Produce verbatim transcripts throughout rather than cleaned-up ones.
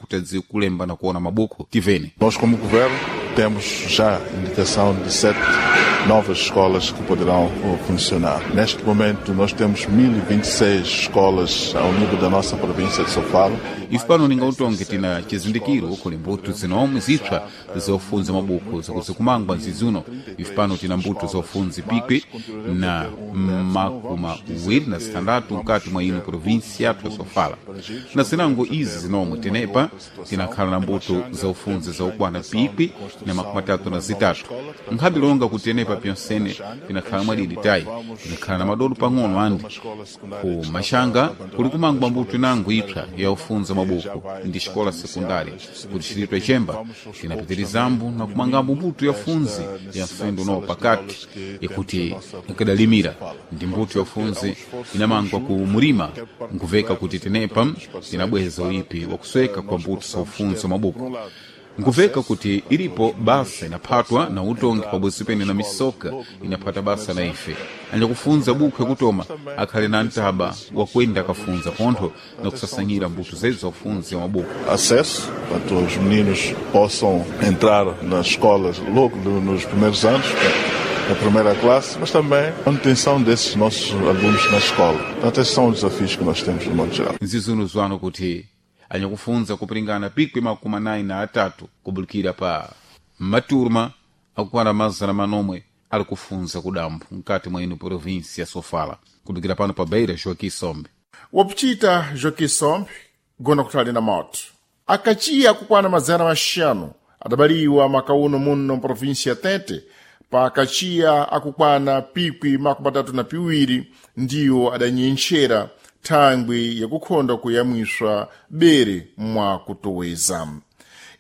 kuti adziwe kulemba na kuona mabuku tivene. Nós, como governo, temos já indicação de sete novas escolas que poderão funcionar. Neste momento, nós temos mil e vinte e seis escolas ao nível da nossa província de Sofala. Ife pano ningautonge tina chizindikiro kuli mbuto zinomwe zipsa zofunza mabuku zakuzikumangwa nzizuno. Ife pano tina mbuto zofunza pikwi na makumi awiri na zitandatu mkati mwa ino provinsi yathu ya Sofala. Na zinango izi zinomwe tenepa tinakhala na mbuto zofunza zaukwana pikwi na makumi atatu na zitatu. Nkhabe longa kuti tenepa pyonsene tinakhala mwadidi tayi, tinakhala na madodo pang'ono andi ku mashanga kuli kumangwa mbuto inango ipsa ya ufunza mabuku ndi xikola sekundari kuti xilitwe chemba tinapitirizambo na kumangambo mbuto ya funzi ya mfendo uno pakati yakuti ikadalimira ndi mbuto ya funzi inamangwa ku murima nkuveka kuti tenepa tinabweza uipi wakusweka kwa mbuto za ufunzi wa mabuku. Nkuveka kuti ilipo basa inaphatwa na utongi pabodzi pene na misoka inaphata basa na ife anyakufunza buku yakutoma akhale na ntaba wakwenda akafunza pontho na kusasanyira mbuto zedu za ufunzi wa mabuku. Acesso para que os meninos possam entrar nas escolas logo nos primeiros anos, na primeira classe, mas também a manutenção desses nossos alunos na escola. Portanto, esses são os desafios que nós temos no modo geral. Nzizuno zwano kuti anyakufunza kupiringana pikwi makumi anayi na atatu kubulikira pa maturma akukwana mazana manomwe ali kufunza kudambo mkati mwa ino provinsi ya Sofala. Kubulikira pano pa Beira, Joaquim Sombe. Wapuchita Joaquim Sombe gona kutali na moto. Akachiya kukwana mazana maxanu adabaliwa makauno muno mprovinsi ya Tete, pa akachiya akukwana pikwi makumi atatu na piwiri ndiwo adanyenchera thangwi yakukhonda kuyamwiswa bere mwa kutoweza.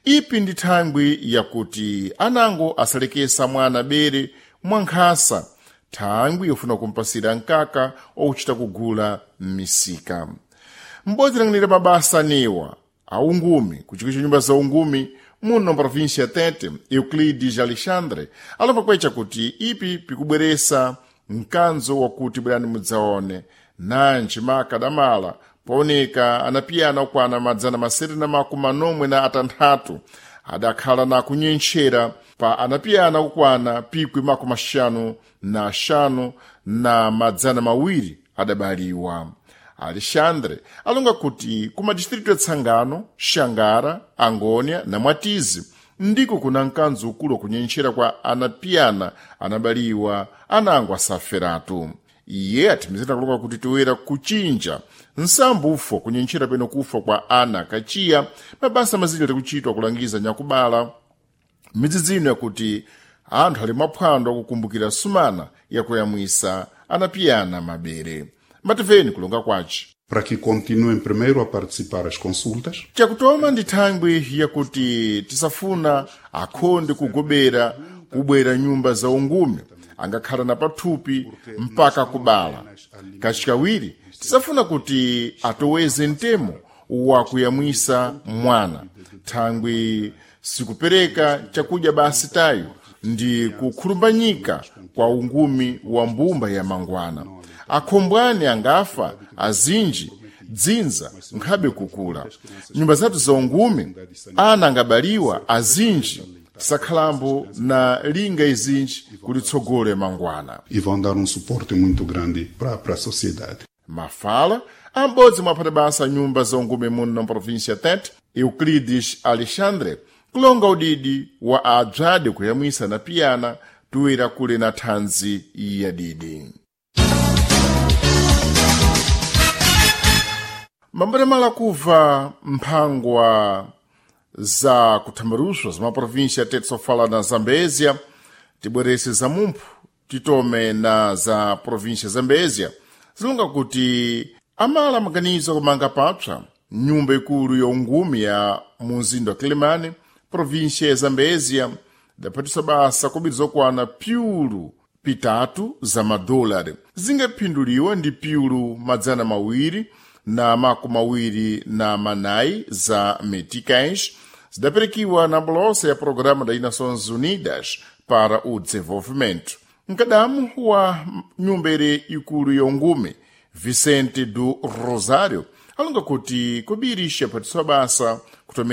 Ipi ndi thangwi yakuti anango asalekesa mwana bere mwa nkhasa, thangwi yofuna kumpasira mkaka okuchita kugula m'misika. M'bodzi lang'anira mabasa anewa aungumi kuchiko cha nyumba za ungumi muno mprovinsia ya Tete, Euclides Alexandre alomba kwecha kuti ipi pikubweresa mkanzo wakuti bwerani mudzaone nanji makadamala pooneka anapiyana okwana madzana masere na makumi manomwe na atanthatu adakhala na kunyentchera pa anapiyana okwana pikwi makumi axanu na axanu na madzana mawiri adabaliwa. Alexandre alonga kuti ku madistritu ya Tsangano, Xangara, Angônia na Mwatizi ndiko kuna mkanzo ukulu wakunyentchera kwa anapiyana anabaliwa anango asaferatu. Iye athimizira kulonga kuti toera kuchinja nsambo ufo kunyentchera peno kufa kwa ana kachiya mabasa mazinji ali kuchitwa kulangiza nyakubala midzidzi ino yakuti anthu ali mwaphwando akukumbukira sumana yakuyamwisa anapiyana mabere. Mativeni kulonga kwace. Para que continuem primeiro a participar as consultas. Chakutoma ndi thangwi yakuti tisafuna akhonde kugobera kubwera nyumba za ungumi angakhala na pathupi mpaka kubala. Kachikawiri tisafuna kuti atoweze mtemo wakuyamwisa mwana thangwi sikupereka chakudya basi tayo ndi kukhulumbanyika kwa ungumi wa mbumba ya mangwana. Akhombwani angafa azinji dzinza nkhabe kukula. Nyumba zathu za ungumi ana angabaliwa azinji tisakhalambo na linga izinji kulitsogolo mangwana. E vão dar um suporte muito grande para para a sociedade. Mafala ambodzi mwaphata basa nyumba za ungume muno na província ya Tete, Euclides Alexandre kulonga udidi wa adzade kuyamwisa na piyana tuwira kule na thanzi ya didi. Mambatamala kuva mphangwa za kuthambaruswa za maprovinsia ya Tete, Sofala na Zambezia, tibwerese za mumphu titome na za província Zambezia zilonga kuti amala maganizo akumanga papsa nyumba ikulu ya ungumi ya munzinda wa Quelimane, província ya Zambezia, idaphatisa basa kobiri zokwana piulu pitatu za madolari zingaphinduliwa ndi piulu madzana mawiri na makumi mawiri na manayi za meticais zidaperekiwa na bolosa ya programa da Nações Unidas para o Desenvolvimento. Mkadamu wa nyumba ere ikulu ya ungume Vicente do Rosário alonga kuti kobiri ixaphatiswa basa kutomera